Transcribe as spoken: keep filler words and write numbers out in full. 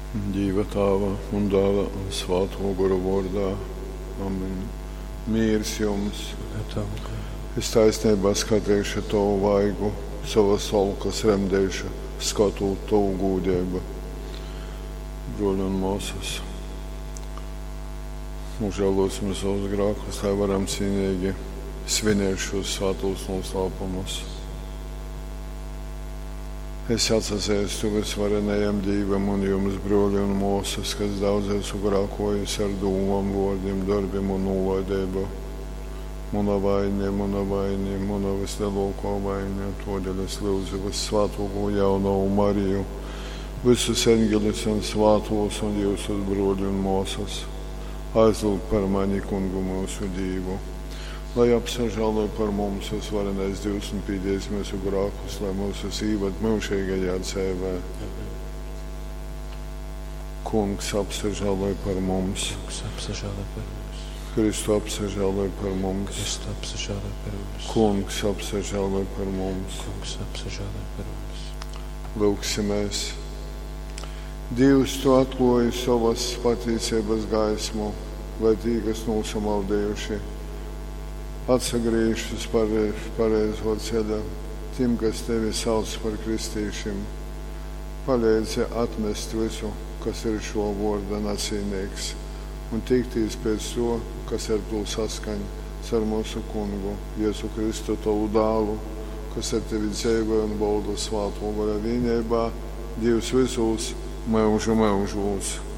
Dīva Tāva un Dāla un Svātō Gora vōrdā. Amen. Mīrs jums! Un ar tavu garu. Es taisneibā skateišu tovu vaigu, sovas olkas remdeišu, skatūt tovu gūdeibu. Bruoļi un mōsas, nožēlosim savus grākus, lai varam cīnīgi svinēt šos svātos noslēpumus. Es atsazeistu vysvarenajam Dīvam un jums, bruoļi un mōsas, kas daudz esmu grākojis ar dūmom, vōrdim, dorbim un nūlaideibu. Muna vaine, muna vaine, muna vislielākā vaine, todēļ es lūdzu vyssvātōko jaunovu Mariju, visus eņģeļus un svātos un jūsus bruoļi un mōsas, aizlūgt par mani kungu mūsu Dīvu. Lai apsažāloj par mums vysvarenais Dīvs un pīdīs mūsu grākus, lai mūsus īvad myužīgajā dzeivē. Amen. Kungs apsažāloj par mums, Kungs apsažāloj par mums. Kristu apsažāloj par mums, Kristu apsažāloj par mums. Kungs apsažāloj par mums. Kungs apsažāloj par mums. Lūgsimies. Dievs, tu atklāji savas patīcības gaismu, lai tī, kas nosamaldējuši, atsagriežas uz pare- pareizo ceļa, tiem, kas tevi sauc par kristīšiem. Palīdzi atmest visu, kas ir šo vārda nacīnīgs, un tiktīs pēc to, kas ar to saskaņ ar mūsu kungu, Jēzu Kristu, tavu dālu, kas ar tevi dzīvo un valda svāto gara vienībā, Dievs visos mūžu mūžos.